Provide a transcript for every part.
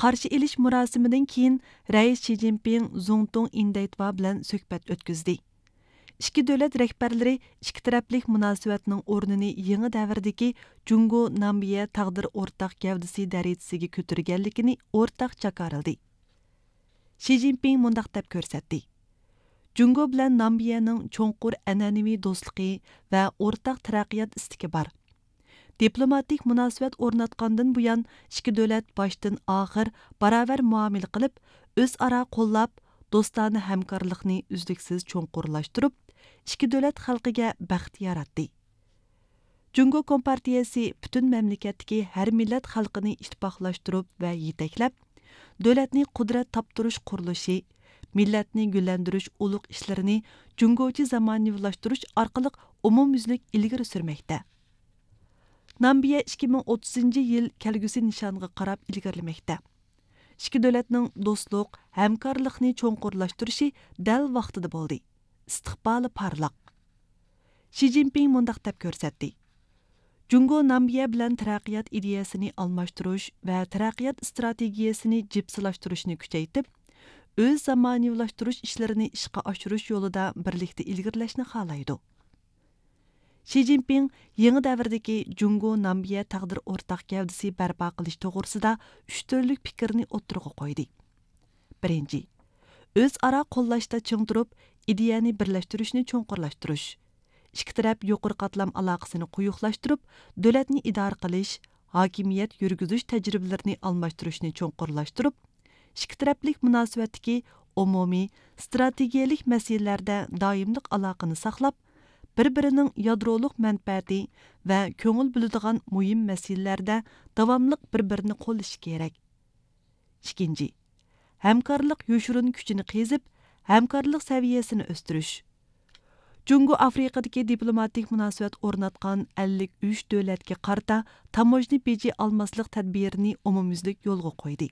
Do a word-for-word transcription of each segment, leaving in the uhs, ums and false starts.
قارشى ئېلىش مۇراسىمىدىن كېيىن، رەئىس شى جىنپىڭ زۇڭتۇڭ ئىندەيتۋا بىلەن سۆھبەت ئۆتكۈزدى. ئىككى دۆلەت رەھبەرلىرى ئىككى تەرەپلىك مۇناسىۋەتنىڭ ئورنىنى يېڭى دەۋردىكى جۇڭگو نامىبىيە تەقدىر ئورتاق گەۋدىسى دەرىجىسىگە كۆتۈرگەنلىكىنى ئورتاق جاكارلىدى. شى جىنپىڭ مۇنداق دەپ كۆرسەتتى: جۇڭگو بىلەن نامىبىيەنىڭ چوڭقۇر ئەنئەنىۋى دوستلۇقى ۋە ئورتاق تەرەققىيات ئىستىكى بار. دىپلوماتىك مۇناسىۋەت ئورناتقاندىن بۇيان، ئىككى دۆلەت باشتىن ئاخىر باراۋەر مۇئامىلە قىلىپ، ئۆزئارا قوللاپ، دوستانە ھەمكارلىقنى ئۈزلۈكسىز چوڭقۇرلاشتۇرۇپ، ئىككى دۆلەت خەلقىگە بەخت ياراتتى. جۇڭگو كومپارتىيەسى پۈتۈن مەملىكەتتىكى ھەر مىللەت خەلقىنى ئىتتىپاقلاشتۇرۇپ ۋە يېتەكلەپ، دۆلەتنى قۇدرەت تاپتۇرۇش قۇرۇلۇشى، مىللەتنى گۈللەندۈرۈش ئۇلۇغ ئىشلىرىنى جۇڭگوچە زامانىۋىلاشتۇرۇش ئارقىلىق ئومۇميۈزلۈك ئىلگىرى سۈرمەكتە. نامىبىيە ئىككى مىڭ ئوتتۇزىنچى يىل كەلگۈسى نىشانىغا قاراپ ئىلگىرىلىمەكتە. ئىككى دۆلەتنىڭ دوستلۇق، ھەمكارلىقنى چوڭقۇرلاشتۇرۇشى دەل ۋاقتىدا بولدى. ئىستىقبالى پارلاق. شى جىنپىڭ مۇنداق دەپ كۆرسەتتى: جۇڭگو نامىبىيە بىلەن تەرەققىيات ئىدىيەسىنى ئالماشتۇرۇش ۋە تەرەققىيات ئىستراتېگىيەسىنى جىپسىلاشتۇرۇشنى كۈچەيتىپ، ئۆز زامانىۋىلاشتۇرۇش ئىشلىرىنى ئىشقا ئاشۇرۇش يولىدا بىرلىكتە ئىلگىرىلەشنى خالايدۇ. شى جىنپىڭ يېڭى دەۋردىكى جۇڭگو نامىبىيە تەقدىر ئورتاق گەۋدىسى بەرپا قىلىش توغرىسىدا ئۈچ تۈرلۈك پىكىرنى ئوتتۇرىغا قويدى. بىرىنچى، ئۆزئارا قوللاشتا چىڭ تۇرۇپ، ئىدىيەنى بىرلەشتۈرۈشنى چوڭقۇرلاشتۇرۇش. ئىككى تەرەپ يۇقىرى قاتلام ئالاقىسىنى قويۇقلاشتۇرۇپ، دۆلەتنى ئىدارە قىلىش، ھاكىمىيەت يۈرگۈزۈش تەجرىبىلىرىنى ئالماشتۇرۇشنى چوڭقۇرلاشتۇرۇپ، ئىككى تەرەپلىك مۇناسىۋەتتىكى ئومۇمىي، ئىستراتېگىيەلىك مەسىلىلەردە دائىملىق ئالاقىنى ساقلاپ، بىر-بىرىنىڭ يادرولۇق مەنپەئەتى ۋە كۆڭۈل بۆلىدىغان مۇھىم مەسىلىلەردە داۋاملىق بىر-بىرىنى قوللىشى كېرەك. ئىككىنچى، ھەمكارلىق يوشۇرۇن كۈچىنى قېزىپ، ھەمكارلىق سەۋىيەسىنى ئۆستۈرۈش. جۇڭگو ئافرىقىدىكى دىپلوماتىك مۇناسىۋەت ئورناتقان ئەللىك ئۈچ دۆلەتكە قارىتا تاموژنا بېجى ئالماسلىق تەدبىرىنى ئومۇميۈزلۈك يولغا قويدى.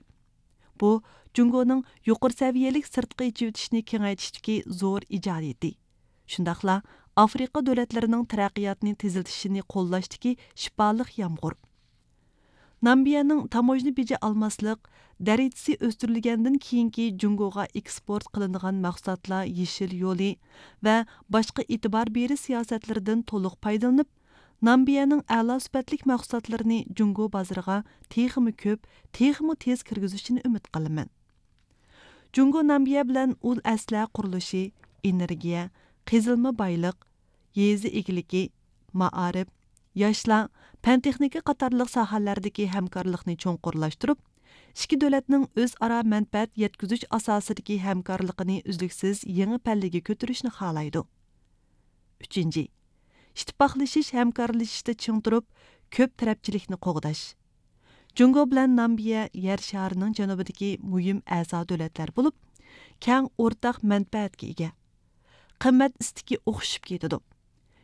بۇ، جۇڭگونىڭ يۇقىرى سەۋىيەلىك سىرتقا ئېچىۋېتىشنى كېڭەيتىشتىكى زور ئىجادىيىتى. شۇنداقلا ئافرىقا دۆلەتلىرىنىڭ تەرەققىياتنى تېزلىتىشىنى قوللاشتىكى شىپالىق يامغۇر. نامىبىيەنىڭ تاموژنا بېجى ئالماسلىق دەرىجىسى ئۆستۈرۈلگەندىن كېيىنكى جۇڭگوغا ئېكسپورت قىلىنىدىغان مەھسۇلاتلار يېشىل يولى ۋە باشقا ئېتىبار بېرىش سىياسەتلىرىدىن تولۇق پايدىلىنىپ، نامىبىيەنىڭ ئەلا سۈپەتلىك مەھسۇلاتلىرىنى جۇڭگو بازىرىغا تېخىمۇ كۆپ، تېخىمۇ تېز كىرگۈزۈشىنى ئۈمىد قىلىمەن. جۇڭگو نامىبىيە بىلەن ئۇل ئەسلىھە قۇرۇلۇشى، ئېنېرگىيە، قېزىلما بايلىق، يېزا ئىگىلىكى، مائارىپ، ياشلار، پەن تېخنىكا قاتارلىق ساھەلەردىكى ھەمكارلىقنى چوڭقۇرلاشتۇرۇپ، ئىككى دۆلەتنىڭ ئۆزئارا مەنپەئەت يەتكۈزۈش ئاساسىدىكى ھەمكارلىقىنى ئۈزلۈكسىز يېڭى پەللىگە كۆتۈرۈشنى خالايدۇ. ئۈچىنچى، ئىتتىپاقلىشىش، ھەمكارلىشىشتا چىڭ تۇرۇپ، كۆپ تەرەپچىلىكنى قوغداش. جۇڭگو بىلەن نامىبىيە يەر شارىنىڭ جەنۇبىدىكى مۇھىم ئەزا دۆلەتلەر بولۇپ، كەڭ ئورتاق مەنپەئەتكە ئىگە. قىممەت ئىستىكى ئوخشىشىپ كېتىدۇ.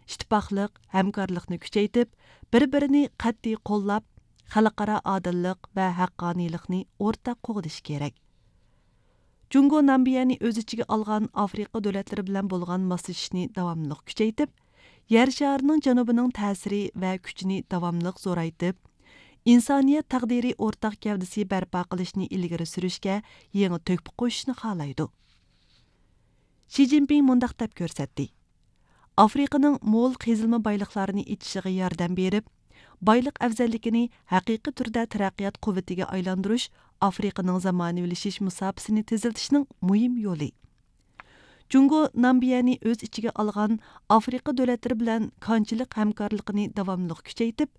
ئىتتىپاقلىق، ھەمكارلىقنى كۈچەيتىپ، بىر-بىرىنى قەتئىي قوللاپ، خەلقئارا ئادىللىق ۋە ھەققانىيلىقنى ئورتاق قوغدىشى كېرەك. جۇڭگو نامىبىيەنى ئۆز ئىچىگە ئالغان ئافرىقا دۆلەتلىرى بىلەن بولغان ماسلىشىشنى داۋاملىق كۈچەيتىپ، يەر شارىنىڭ جەنۇبىنىڭ تەسىرى ۋە كۈچىنى داۋاملىق زورايتىپ، ئىنسانىيەت تەقدىرى ئورتاق گەۋدىسى بەرپا قىلىشنى ئىلگىرى سۈرۈشكە يېڭى تۆھپە قوشۇشنى خالايدۇ. شى جىنپىڭ مۇنداق دەپ كۆرسەتتى: ئافرىقىنىڭ مول قېزىلما بايلىقلارنى ئېچىشىغا ياردەم بېرىپ، بايلىق ئەۋزەللىكىنى ھەقىقىي تۈردە تەرەققىيات قۇۋۋىتىگە ئايلاندۇرۇش ئافرىقىنىڭ زامانىۋىلىشىش مۇساپىسىنى تېزلىتىشنىڭ مۇھىم يولى. جۇڭگو نامىبىيەنى ئۆز ئىچىگە ئالغان ئافرىقا دۆلەتلىرى بىلەن كانچىلىق ھەمكارلىقىنى داۋاملىق كۈچەيتىپ،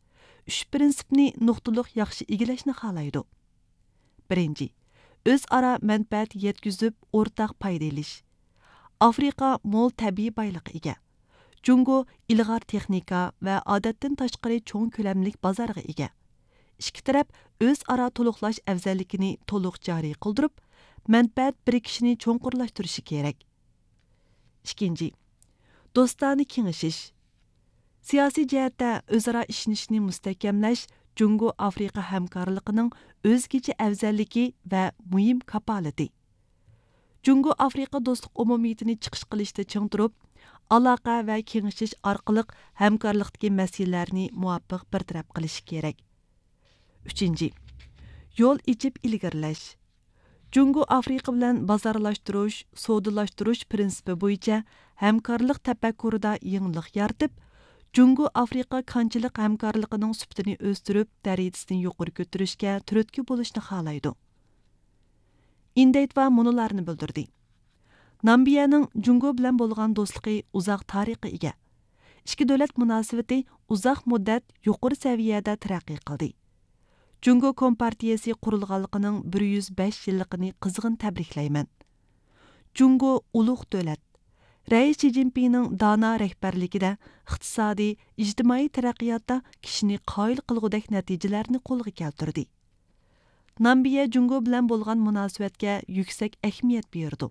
ئۈچ پىرىنسىپنى نۇقتىلىق ياخشى ئىگىلەشنى خالايدۇ. بىرىنچى، ئۆزئارا مەنپەئەت يەتكۈزۈپ، ئورتاق پايدا ئېلىش. ئافرىقا مول تەبىئىي بايلىققا ئىگە. جۇڭگو ئىلغار تېخنىكا ۋە ئادەتتىن تاشقىرى چوڭ كۆلەملىك بازارغا ئىگە. ئىككى تەرەپ ئۆزئارا تولۇقلاش ئەۋزەللىكىنى تولۇق جارى قىلدۇرۇپ، مەنپەئەت بىرىكىشىنى چوڭقۇرلاشتۇرۇشى كېرەك. ئىككىنچى، دوستانە كېڭىشىش. سىياسىي جەھەتتە ئۆزئارا ئىشىنىشنى مۇستەھكەملەش جۇڭگو ئافرىقا ھەمكارلىقىنىڭ ئۆزگىچە ئەۋزەللىكى ۋە مۇھىم كاپالىتى. جۇڭگو ئافرىقا دوستلۇق ئومۇمىيىتىنى چىقىش قىلىشتا چىڭ تۇرۇپ، ئالاقە ۋە كېڭىشىش ئارقىلىق ھەمكارلىقتىكى مەسىلىلەرنى مۇۋاپىق بىر تەرەپ قىلىشى كېرەك. ئۈچىنچى، يول ئېچىپ ئىلگىرىلەش. جۇڭگو ئافرىقا بىلەن بازارلاشتۇرۇش، سودىلاشتۇرۇش پىرىنسىپى بويىچە ھەمكارلىق تەپەككۇرىدا يېڭىلىق يارىتىپ، جۇڭگو ئافرىقا كانچىلىق ھەمكارلىقىنىڭ سۈپىتىنى ئۆستۈرۈپ، دەرىجىسىنى يۇقىرى كۆتۈرۈشكە تۈرتكە بولۇشنى خالايدۇ. ئىندەيتۋا مۇنۇلارنى بىلدۈردى. نامىبىيەنىڭ جۇڭگو بىلەن بولغان دوستلۇقى ئۇزاق تارىخقا ئىگە. ئىككى دۆلەت مۇناسىۋىتى ئۇزاق مۇددەت يۇقىرى سەۋىيەدە تەرەققىي قىلدى. جۇڭگو كومپارتىيىسى قۇرۇلغانلىقىنىڭ بىر يۈز بەش يىللىقىنى قىزغىن تەبرىكلەيمەن. جۇڭگو ئۇلۇغ دۆلەت. رەئىس شى جىنپىڭنىڭ دانا رەھبەرلىكىدە ئىقتىسادىي، ئىجتىمائىي تەرەققىياتتا كىشىنى قايىل قىلغۇدەك نەتىجىلەرنى قولغا كەلتۈردى. نامىبىيە جۇڭگو بىلەن بولغان مۇناسىۋەتكە يۈكسەك ئەھمىيەت بېرىدۇ.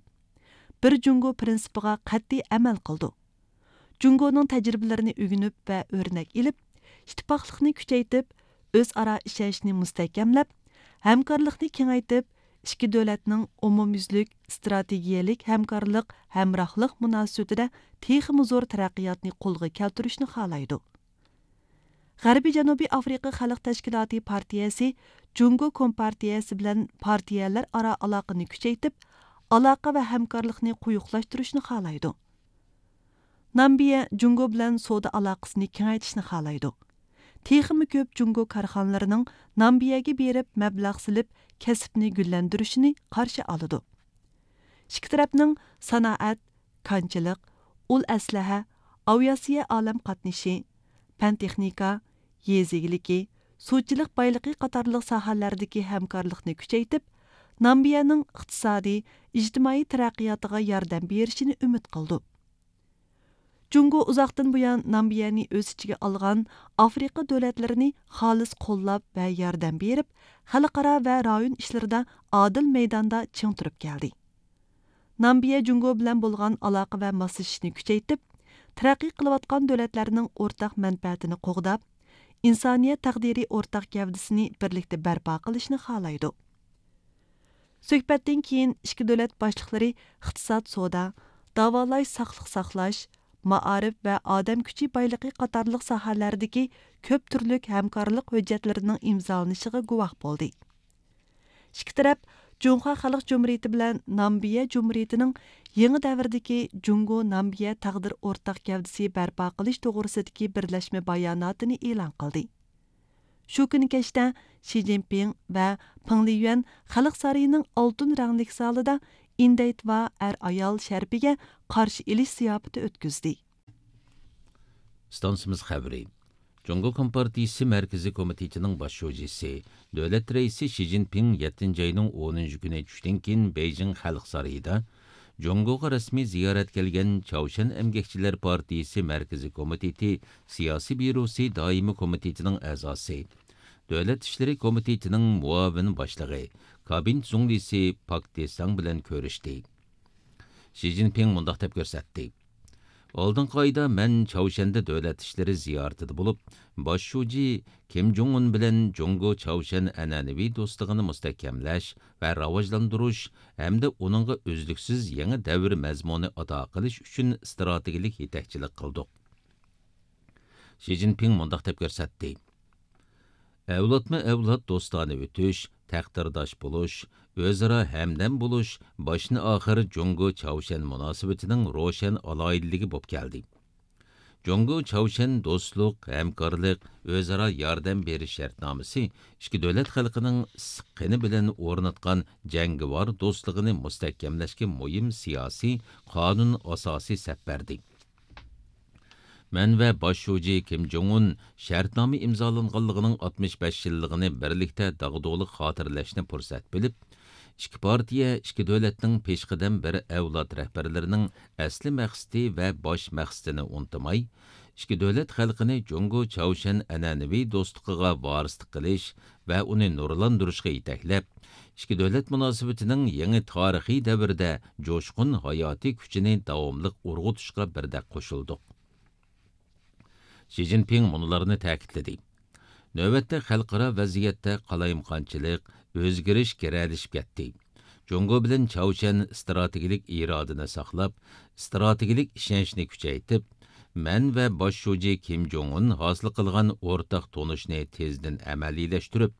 بىر جۇڭگو پىرىنسىپىغا قەتئىي ئەمەل قىلىدۇ. جۇڭگونىڭ تەجرىبىلىرىنى ئۆگىنىپ ۋە ئۆرنەك ئېلىپ، ئىتتىپاقلىقنى كۈچەيتىپ، ئۆزئارا ئىشەنچنى مۇستەھكەملەپ، ھەمكارلىقنى كېڭەيتىپ، ئىككى دۆلەتنىڭ ئومۇميۈزلۈك ئىستراتېگىيەلىك ھەمكارلىق، ھەمراھلىق مۇناسىۋىتىدە تېخىمۇ زور تەرەققىياتنى قولغا كەلتۈرۈشنى خالايدۇ. غەربىي جەنۇبىي ئافرىقا خەلق تەشكىلاتى پارتىيەسى جۇڭگو كومپارتىيەسى بىلەن پارتىيەلەر ئارا ئالاقىنى كۈچەيتىپ، ئالاقە ۋە ھەمكارلىقنى قويۇقلاشتۇرۇشنى خالايدۇ. نامىبىيە جۇڭگو بىلەن سودا ئالاقىسىنى كېڭەيتىشنى خالايدۇ. تېخىمۇ كۆپ جۇڭگو كارخانىلىرىنىڭ نامىبىيەگە بېرىپ مەبلەغ سېلىپ، كەسىپنى گۈللەندۈرۈشىنى قارشى ئالىدۇ. ئىككى تەرەپنىڭ سانائەت، كانچىلىق، ئۇل ئەسلىھە، ئاۋىئاتسىيە ئالەم قاتنىشى، پەن تېخنىكا، يېزا ئىگىلىكى، سۇچىلىق بايلىقى قاتارلىق ساھەلەردىكى ھەمكارلىقنى كۈچەيتىپ، نامىبىيەنىڭ ئىقتىسادىي، ئىجتىمائىي تەرەققىياتىغا ياردەم بېرىشىنى ئۈمىد قىلىدۇ. جۇڭگو ئۇزاقتىن بۇيان نامىبىيەنى ئۆز ئىچىگە ئالغان ئافرىقا دۆلەتلىرىنى خالىس قوللاپ ۋە ياردەم بېرىپ، خەلقئارا ۋە رايون ئىشلىرىدا ئادىل مەيداندا چىڭ تۇرۇپ كەلدى. نامىبىيە جۇڭگو بىلەن بولغان ئالاقە ۋە ماسلىشىشنى كۈچەيتىپ، تەرەققىي قىلىۋاتقان دۆلەتلەرنىڭ ئورتاق مەنپەئەتىنى قوغداپ، ئىنسانىيەت تەقدىرى ئورتاق گەۋدىسىنى بىرلىكتە بەرپا قىلىشنى خالايدۇ. سۆھبەتتىن كېيىن ئىككى دۆلەت باشلىقلىرى ئىقتىساد، سودا، داۋالاش، ساقلىق ساقلاش، مائارىپ ۋە ئادەم كۈچى بايلىقى قاتارلىق ساھەلەردىكى كۆپ تۈرلۈك ھەمكارلىق ھۆججەتلىرىنىڭ ئىمزالىنىشىغا گۇۋاھ بولدى. ئىككى تەرەپ جۇڭخۇا خەلق جۇمھۇرىيىتى بىلەن نامىبىيە جۇمھۇرىيىتىنىڭ يېڭى دەۋردىكى جۇڭگو نامىبىيە تەقدىر ئورتاق گەۋدىسى بەرپا قىلىش توغرىسىدىكى بىرلەشمە باياناتىنى ئېلان قىلدى. شۇ كۈنى كەچتە شى جىنپىڭ ۋە پېڭ لىيۈەن خەلق سارىيىنىڭ ئالتۇن رەڭلىك زالىدا ئىندەيتۋا ئەر-ئايال شەرىپىگە قارشى ئېلىش زىياپىتى ئۆتكۈزدى. ئىستانسىمىز خەۋىرى. جۇڭگو كومپارتىيىسى مەركىزىي كومىتېتىنىڭ باش شۇجىسى، دۆلەت رەئىسى شى جىنپىڭ يەتتىنچى ئاينىڭ ئونىنچى كۈنى چۈشتىن كېيىن بېيجىڭ خەلق سارىيىدا جۇڭگوغا رەسمىي زىيارەتكە كەلگەن چاۋشيەن ئەمگەكچىلەر پارتىيىسى مەركىزىي كومىتېتى سىياسىي بيۇروسى دائىمىي كومىتېتىنىڭ ئەزاسى، دۆلەت ئىشلىرى كومىتېتىنىڭ مۇئاۋىن باشلىقى، كابىنېت زۇڭلىسى پاك دېساڭ بىلەن كۆرۈشتى. شى جىنپىڭ مۇنداق دەپ كۆرسەتتى: ئالدىنقى ئايدا مەن چاۋشيەندە دۆلەت ئىشلىرى زىيارىتىدە بولۇپ، باش شۇجى كىم جوڭ ئۇن بىلەن جۇڭگو چاۋشيەن ئەنئەنىۋى دوستلۇقىنى مۇستەھكەملەش ۋە راۋاجلاندۇرۇش ھەمدە ئۇنىڭغا ئۈزلۈكسىز يېڭى دەۋر مەزمۇنى ئاتا قىلىش ئۈچۈن ئىستراتېگىيەلىك يېتەكچىلىك قىلدۇق. شى جىنپىڭ مۇنداق دەپ كۆرسەتتى: ئەۋلادمۇ ئەۋلاد دوستانە ئۆتۈش، تەقدىرداش بولۇش، ئۆزئارا ھەمدەم بولۇش باشتىن ئاخىر جۇڭگو چاۋشيەن مۇناسىۋىتىنىڭ روشەن ئالاھىدىلىكى بولۇپ كەلدى. جۇڭگو چاۋشيەن دوستلۇق، ھەمكارلىق، ئۆزئارا ياردەم بېرىش شەرتنامىسى ئىككى دۆلەت خەلقىنىڭ ئىسسىق قېنى بىلەن ئورناتقان جەڭگىۋار دوستلۇقىنى مۇستەھكەملەشكە مۇھىم سىياسىي، قانۇن ئاساسى سەپ بەردى. مەن ۋە باش شۇجى كىم جوڭ ئۇن شەرتنامە ئىمزالانغانلىقىنىڭ ئاتمىش بەش يىللىقىنى بىرلىكتە داغدۇغىلىق خاتىرىلەشنى پۇرسەت بىلىپ، ئىككى پارتىيە، ئىككى دۆلەتنىڭ پېشقەدەم بىر ئەۋلاد رەھبەرلىرىنىڭ ئەسلى مەقسىتى ۋە باش مەقسىتىنى ئۇنتۇماي، ئىككى دۆلەت خەلقىنى جۇڭگو چاۋشيەن ئەنئەنىۋى دوستلۇقىغا ۋارىسلىق قىلىش ۋە ئۇنى نۇرلاندۇرۇشقا يېتەكلەپ، ئىككى دۆلەت مۇناسىۋىتىنىڭ يېڭى تارىخىي دەۋرىدە جۇشقۇن ھاياتىي كۈچىنى داۋاملىق ئۇرغۇتۇشقا بىردەك قوشۇلدۇق. شى جىنپىڭ مۇنۇلارنى تەكىتلىدى: نۆۋەتتە خەلقئارا ۋەزىيەتتە قالايمىقانچىلىق، ئۆزگىرىش گىرەلىشىپ كەتتى. جۇڭگو بىلەن چاۋشيەن ئىستراتېگىيەلىك ئىرادىنى ساقلاپ، ئىستراتېگىيەلىك ئىشەنچنى كۈچەيتىپ، مەن ۋە باش شۇجى كىم جوڭ ئۇن ھاسىل قىلغان ئورتاق تونۇشنى تېزدىن ئەمەلىيلەشتۈرۈپ،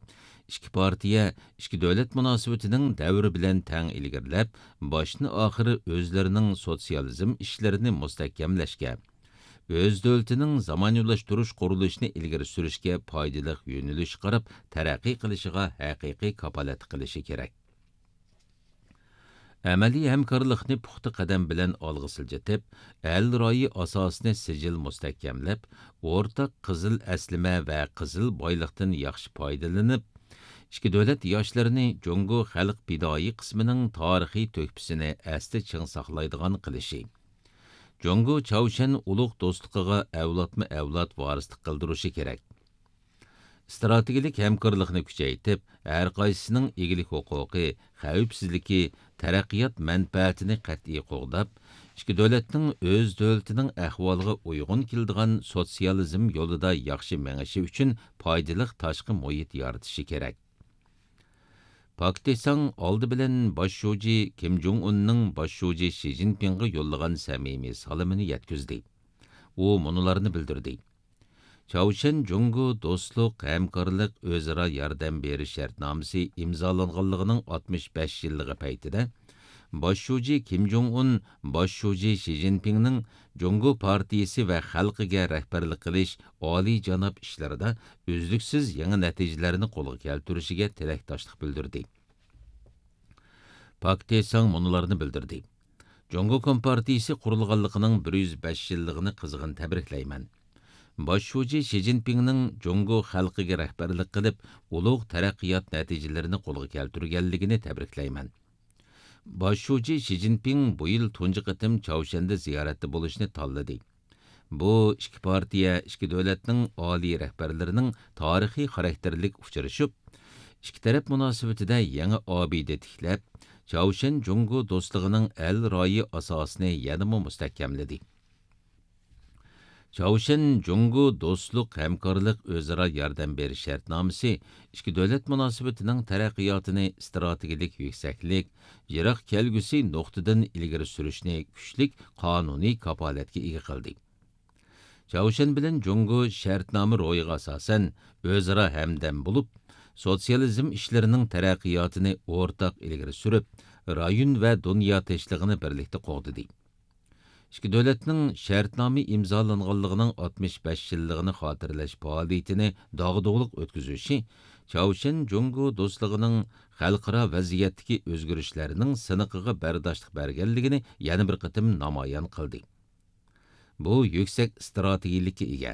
ئىككى پارتىيە ئىككى دۆلەت مۇناسىۋىتىنىڭ دەۋرى بىلەن تەڭ ئىلگىرىلەپ، باشتىن ئاخىر ئۆزلىرىنىڭ سوتسىيالىزم ئىشلىرىنى مۇستەھكەملەشكە، ئۆز دۆلىتىنىڭ زامانىۋىلاشتۇرۇش قۇرۇلۇشىنى ئىلگىرى سۈرۈشكە پايدىلىق يۆنىلىش قاراپ تەرەققىي قىلىشىغا ھەقىقىي كاپالەتلىك قىلىشى كېرەك. ئەمەلىي ھەمكارلىقنى پۇختا قەدەم بىلەن ئالغا سىلجىتىپ، ئەل رايى ئاساسىنى سىجىل مۇستەھكەملەپ، ئورتاق قىزىل ئەسلىمە ۋە قىزىل بايلىقتىن ياخشى پايدىلىنىپ، ئىككى دۆلەت ياشلىرىنى جۇڭگو خەلق پىدائىي قىسمىنىڭ تارىخىي تۆھپىسىنى ئەستە چىڭ ساقلايدىغان قىلىشى، جۇڭگو چاۋشيەن ئۇلۇغ دوستلۇقىغا ئەۋلادمۇ ئەۋلاد ۋارىسلىق قىلدۇرۇشى كېرەك. ئىستراتېگىيەلىك ھەمكارلىقنى كۈچەيتىپ، ھەرقايسىسىنىڭ ئىگىلىك ھوقۇقى، خەۋپسىزلىكى، تەرەققىيات مەنپەئەتىنى قەتئىي قوغداپ، ئىككى دۆلەتنىڭ ئۆز دۆلىتىنىڭ ئەھۋالىغا ئۇيغۇن كېلىدىغان سوتسىيالىزم يولىدا ياخشى مېڭىشى ئۈچۈن پايدىلىق تاشقى مۇھىت يارىتىشى كېرەك. پاك تېساڭ ئالدى بىلەن باش شۇجى كىم جوڭ ئۇننىڭ باش شۇجى شى جىنپىڭغا يوللىغان سەمىمىي سالىمىنى يەتكۈزدى. ئۇ مۇنۇلارنى بىلدۈردى. چاۋشيەن جۇڭگو دوستلۇق، ھەمكارلىق، ئۆزئارا ياردەم بېرىش شەرتنامىسى ئىمزالانغانلىقىنىڭ ئاتمىش بەش يىللىقى پەيتىدە، باش شۇجى كىم جوڭ ئۇن باش شۇجى شى جىنپىڭنىڭ جۇڭگو پارتىيىسى ۋە خەلقىگە رەھبەرلىك قىلىش ئالىيجاناب ئىشلىرىدا ئۈزلۈكسىز يېڭى نەتىجىلەرنى قولغا كەلتۈرۈشىگە تىلەكداشلىق بىلدۈردى. پاك تېساڭ مۇنۇلارنى بىلدۈردى. جۇڭگو كومپارتىيىسى قۇرۇلغانلىقىنىڭ بىر يۈز بەش يىللىقىنى قىزغىن تەبرىكلەيمەن. باش شۇجى شى جىنپىڭنىڭ جۇڭگو خەلقىگە رەھبەرلىك قىلىپ، ئۇلۇغ تەرەققىيات نەتىجىلىرىنى قولغا كەلتۈرگەنلىكىنى تەبرىكلەيمەن. باش شۇجى شى جىنپىڭ بۇ يىل تۇنجى قېتىم چاۋشيەندە زىيارەتتە بولۇشنى تاللىدى. بۇ ئىككى پارتىيە، ئىككى دۆلەتنىڭ ئالىي رەھبەرلىرىنىڭ تارىخىي خاراكتېرلىك ئۇچرىشىپ، ئىككى تەرەپ مۇناسىۋىتىدە يېڭى ئابىدە تىكلەپ، چاۋشيەن جۇڭگو دوستلۇقىنىڭ ئەل رايى ئاساسىنى يەنىمۇ مۇستەھكەملىدى. چاۋشيەن جۇڭگو دوستلۇق، ھەمكارلىق، ئۆزئارا ياردەم بېرىش شەرتنامىسى ئىككى دۆلەت مۇناسىۋىتىنىڭ تەرەققىياتىنى ئىستراتېگىيەلىك يۈكسەكلىك، يىراق كەلگۈسى نۇقتىدىن ئىلگىرى سۈرۈشنى كۈچلۈك قانۇنىي كاپالەتكە ئىگە قىلدى. چاۋشيەن بىلەن جۇڭگو شەرتنامە روھىغا ئاساسەن ئۆزئارا ھەمدەم بولۇپ، سوتسىيالىزم ئىشلىرىنىڭ تەرەققىياتىنى ئورتاق ئىلگىرى سۈرۈپ، رايون ۋە دۇنيا تىنچلىقىنى بىرلىكتە قوغدىدى. ئىككى دۆلەتنىڭ شەرتنامە ئىمزالانغانلىقىنىڭ ئاتمىش بەش يىللىقىنى خاتىرىلەش پائالىيىتىنى داغدۇغىلىق ئۆتكۈزۈشى چاۋشيەن جۇڭگو دوستلۇقىنىڭ خەلقئارا ۋەزىيەتتىكى ئۆزگىرىشلەرنىڭ سىنىقىغا بەرداشلىق بەرگەنلىكىنى يەنە بىر قېتىم نامايان قىلدى. بۇ يۈكسەك ئىستراتېگىيەلىككە ئىگە.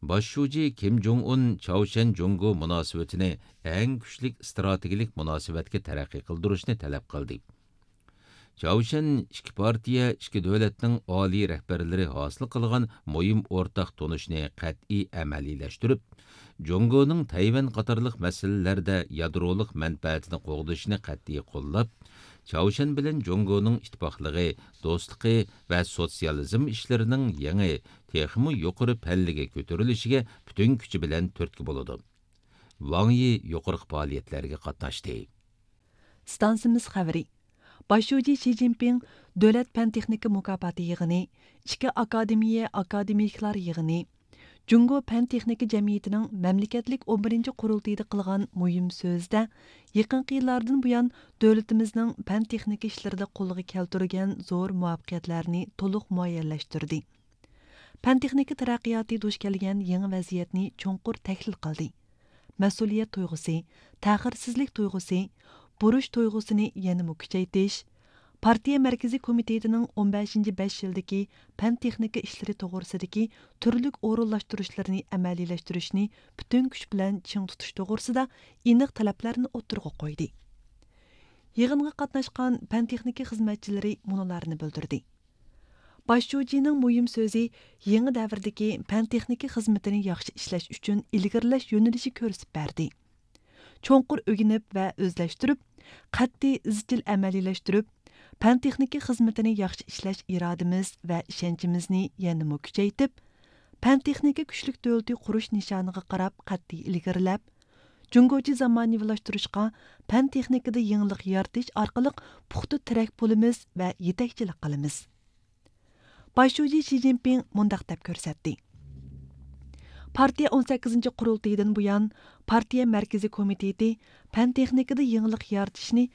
باش شۇجى كىم جوڭ ئۇن چاۋشيەن جۇڭگو مۇناسىۋىتىنى ئەڭ كۈچلۈك ئىستراتېگىيەلىك مۇناسىۋەتكە تەرەققىي قىلدۇرۇشنى تەلەپ قىلدى. چاۋشيەن ئىككى پارتىيە، ئىككى دۆلەتنىڭ ئالىي رەھبەرلىرى ھاسىل قىلغان مۇھىم ئورتاق تونۇشنى قەتئىي ئەمەلىيلەشتۈرۈپ، جۇڭگونىڭ تەيۋەن قاتارلىق مەسىلىلەردە يادرولۇق مەنپەئەتىنى قوغدىشىنى قەتئىي قوللاپ، چاۋشيەن بىلەن جۇڭگونىڭ ئىتتىپاقلىقى، دوستلۇقى ۋە سوتسىيالىزم ئىشلىرىنىڭ يېڭى، تېخىمۇ يۇقىرى پەللىگە كۆتۈرۈلۈشىگە پۈتۈن كۈچى بىلەن تۈرتكە بولىدۇ. ۋاڭ يى يۇقىرىقى پائالىيەتلەرگە قاتناشتى. ئىستانسىمىز خەۋىرى. باش شۇجى شى جىنپىڭ دۆلەت پەن تېخنىكا مۇكاپاتى يىغىنى، ئىككى ئاكادېمىيە ئاكادېمىكلار يىغىنى، جۇڭگو پەن تېخنىكا جەمئىيىتىنىڭ مەملىكەتلىك ئون بىرىنچى قۇرۇلتىيىدا قىلغان مۇھىم سۆزىدە، يېقىنقى يىللاردىن بۇيان دۆلىتىمىزنىڭ پەن تېخنىكا ئىشلىرىدا قولغا كەلتۈرگەن زور مۇۋەپپەقىيەتلەرنى تولۇق مۇئەييەنلەشتۈردى. پەن تېخنىكا تەرەققىياتى دۇچ كەلگەن يېڭى ۋەزىيەتنى چوڭقۇر تەھلىل قىلدى. مەسئۇلىيەت تۇيغۇسى، تەخىرسىزلىك تۇيغۇسى، بۇرچ تۇيغۇسىنى يەنىمۇ كۈچەيتىش، پارتىيە مەركىزىي كومىتېتىنىڭ ئون بەشىنچى بەش يىلدىكى پەن تېخنىكا ئىشلىرى توغرىسىدىكى تۈرلۈك ئورۇنلاشتۇرۇشلىرىنى ئەمەلىيلەشتۈرۈشنى پۈتۈن كۈچ بىلەن چىڭ تۇتۇش توغرىسىدا ئېنىق تەلەپلەرنى ئوتتۇرىغا قويدى. يىغىنغا قاتناشقان پەن تېخنىكا خىزمەتچىلىرى مۇنۇلارنى بىلدۈردى. باش شۇجىنىڭ مۇھىم سۆزى يېڭى دەۋردىكى پەن تېخنىكا خىزمىتىنى ياخشى ئىشلەش ئۈچۈن ئىلگىرىلەش يۆنىلىشى كۆرسىتىپ بەردى. چوڭقۇر ئۆگىنىپ ۋە ئۆزلەشتۈرۈپ، قەتئىي ئىزچىل ئەمەلىيلەشتۈرۈپ، پەن تېخنىكا خىزمىتىنى ياخشى ئىشلەش ئىرادىمىز ۋە ئىشەنچىمىزنى يەنىمۇ كۈچەيتىپ، پەن تېخنىكا كۈچلۈك دۆلىتى قۇرۇش نىشانىغا قاراپ قەتئىي ئىلگىرىلەپ، جۇڭگوچە زامانىۋىلاشتۇرۇشقا، پەن تېخنىكىدا يېڭىلىق يارىتىش ئارقىلىق پۇختا تىرەك بولىمىز ۋە يېتەكچىلىك قىلىمىز. باش شۇجى شى جىنپىڭ مۇنداق دەپ كۆرسەتتى: پارتىيە ئون سەككىزىنچى قۇرۇلتىيىدىن بۇيان، پارتىيە مەركىزىي كومىتېتى پەن تېخنىكىدا يېڭىلىق يارىتىشنى